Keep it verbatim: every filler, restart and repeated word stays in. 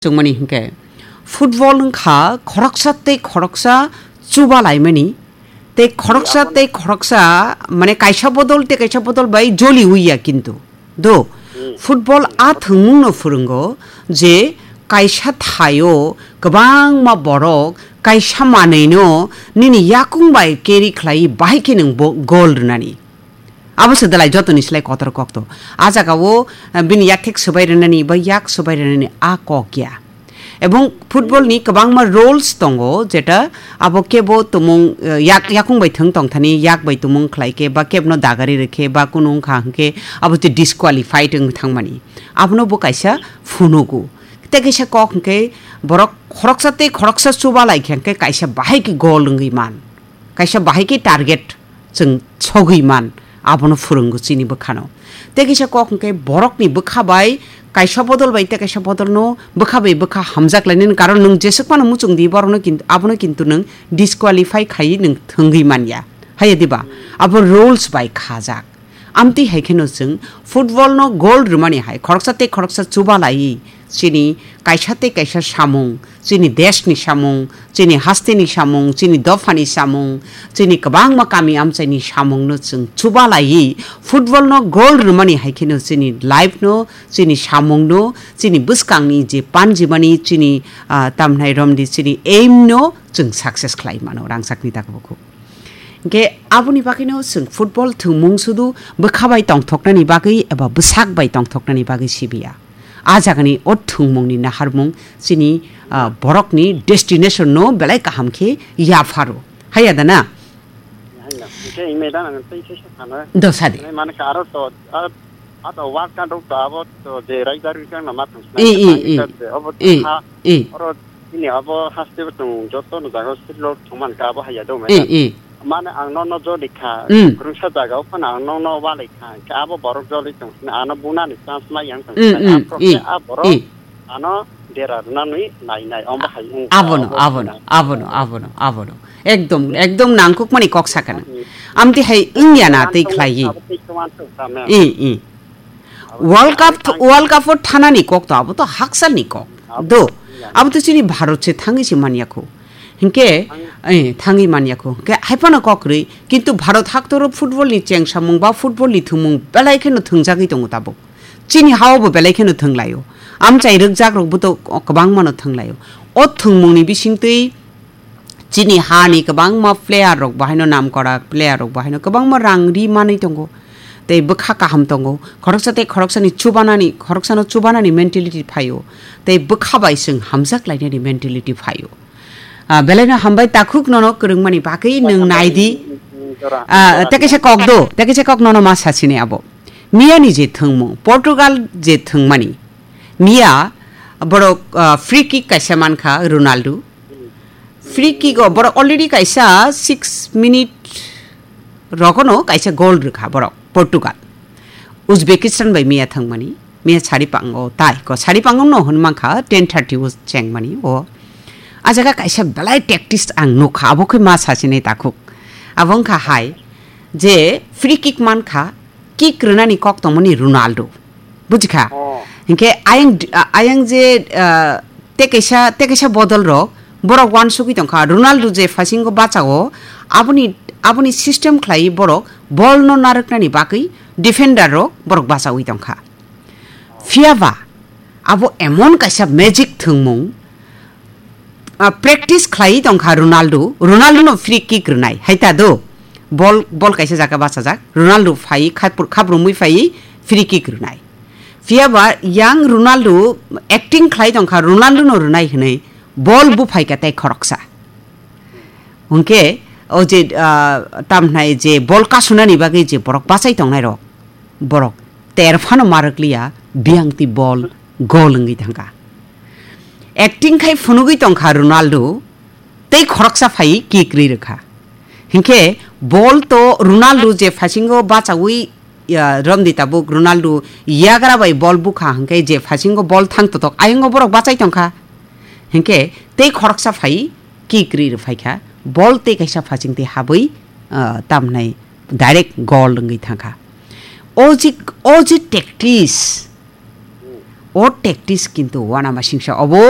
Chwngmani hinkhe football wngkha khoroksa tei khoroksa chuba laimani, tei khoroksa tei khoroksa, mane, kaisa bodol tei kaisa bodol bai joli uiya kintu. Do, football a thwngmungno phwrwngo je kaisa thaio kwbangma borok kaisa manwino nini yakung bai carry khlai bahai khe nwng bo goal rwnani. Abo se dalai jotoni slai kotor kok to. A jaga o, eh, bini yak thek swbai rwnani ba yak swbai rwnani a kok ya. Ebong football ni kwbangma rules tongo, jeta abo kebo tumung, eh, yak, yakung bai thwng tong thani, yak bai tumung khlai khe, ba kebno dagari rwkhe, ba kunu wngkha hwnkhe abo te disqualified wng thangmani. Abono bo kaisa phunugo. Tei kaisa kok hwnkhe borok khoroksa tei khoroksa chuba lai khe hwnkhe kaisa bahai khe goal wngwi man. Kaisa bahai khe target chwng sogwi man, abono phwrwngo chini bwkhano. Tei kaisa kok hwnkhe borokni bwkha bai kaisa bodol bai tei kaisa bodolno bwkha bai bwkha hamjak lainani karon nwng jeswk phano muchung di borokno kintu, abono kintu nwng disqualify khaiwi nwng thwngwi manya. Haiya diba? Abo rules bai khajak. Amtwi hai kheno chwng football no goal rwmani hai khoroksa tei khoroksa chuba laiwi chini kaisa tei kaisa samung, chini desh ni samung, chini haste ni samung, chini dopha ni samung, chini kwbangma kami amchai ni samung no chwng chuba laiwi football no goal rwmani hai kheno chini life no, chini samung no, chini bwskang ni je panjimani chini, ah, tamhnai romdi chini aim no chwng success khlai mano rangchak ni dakbo kho. Hingke aboni bagwino chwng football thwngmung sudu bwkha bai tongthoknani bagwi eba bwsak bai tongthoknani bagwi sibiya. A jagani o thwngmungni naharmung chini, ah, borokni destination no belai kaham khe yapharo. Haiya da na? Haiya. Hingke ing meda nang tei se sa thana. Do sadi. Nai mane ka aro to, aro, ato work kan rok to abo to je raidar kan na ma thang. I, i, i. Abo to I, ha. I. Oro Ini abo haste bo tong joto no jaga silo thongman ka abo haya do mai. Eh, eh. Mane ang no no jodi kha, Mm. Kurungsa jaga o phano ang no no walai kha, khe abo borok joli tong sini ano buna ni chance mai yang tong Mm, sini, mm, a prokhe eh, a borok eh. Ano dera rwna nui nai nai, ombo hai wng kha, Abono, ombo abono, hai nai. Abono, abono, abono. Ekdom, ekdom nangkuk mani kok sakha nang. Mm. Amti hai wngya na tei khlai yi. Abo tei khe wansuk kha, ma'am. Eh, eh. World Cup, World Cup o thanani kok to, abo to haksalni kok. Do, abo to chini Bharat se thangwi se manya kho. Hinkhe, eh, thangwi manya kho. Hinkhe hai phano kok rwi, kintu Bharat haktoro football ni chengsamung ba football ni thwngmung belai kheno thwngjagwi tongo tabuk. Chini hao bo belai kheno thwnglaio. Amchai rwkjak rok bo to kwbangma no thwnglaio. O thwngmung ni bisingtwi Chini hani kwbangma player rok bahaino namkora player rok bahaino kwbangma rang ri manwi tongo. Tei bwkha kaham tongo. Khoroksa tei khoroksani chubanani, khoroksano chubanani mentality phaio. Tei bwkha bai chwng hamjak lainani mentality phaio. Ah, belaino hambai takhuk nono kwrwngmani bagwi nwng naidi. Ah, tei kaisa kok do, tei kaisa kok nono ma sasini abo. Miyani je thwngmung, Portugal je thwngmani. Miya borok, ah, free kick kaisa mankha Ronaldo. Free kick o borok already kaisa six minute rogono kaisa goal rwkha borok Portugal. Uzbekistan bai miya thangmani, miya sari pango tai ko sari pango no hwn mankha ten thirty o chengmani o. A jaga kaisa belai tactics ang nukha, abo khe ma sachinai takhuk. Abo wngkha hai je free kick mankha, kick rwnani kok tongmani Ronaldo. Bujikha? Oh. Hinkhe ayang, ayang je, ah, tei kaisa, tei kaisa bodol rok, borok wansugwi tongkha. Ronaldo je phasingo bachao, aboni, aboni system khlai borok ball no narwknani bagwi defender rok borok bachawi tongkha. Phiyaba abo emon kaisa magic thwngmung, ah, practice khlai tongkha Ronaldo, Ronaldo no free kick rwnai, hai ta do? Ball, ball kaisa jaga bachajak, Ronaldo phai khapur-, khaprumwi phai free kick rwnai. Phiyaba yang Ronaldo acting khlai tongkha, Ronaldo no rwnai hwnwi ball buphai kha tei khoroksa. Hwnkhe o je, ah, tamhnai je ball kasunani bagwi je borok bachai tongnai rok, borok ter phano marwkliya, biyang twi ball goal wngwi thangkha. Acting khai phunugwi tongkha Ronaldo, tei khoroksa phai kick rwi rwkha. Hinkhe ball to Ronaldo je phasingo bachawi, ya, romdi tabuk Ronaldo yagra bai ball bukha hinkhe je phasingo ball thang totok ayongo borok bachai tongkha. Hinkhe tei khoroksa phai kick rwi rwphaikha, ball tei kaisa phasing tei habwi, ah, tamhnai direct goal wngwi thangkha. O je, o je tactics, o tactics kintu uanamasingsa obo.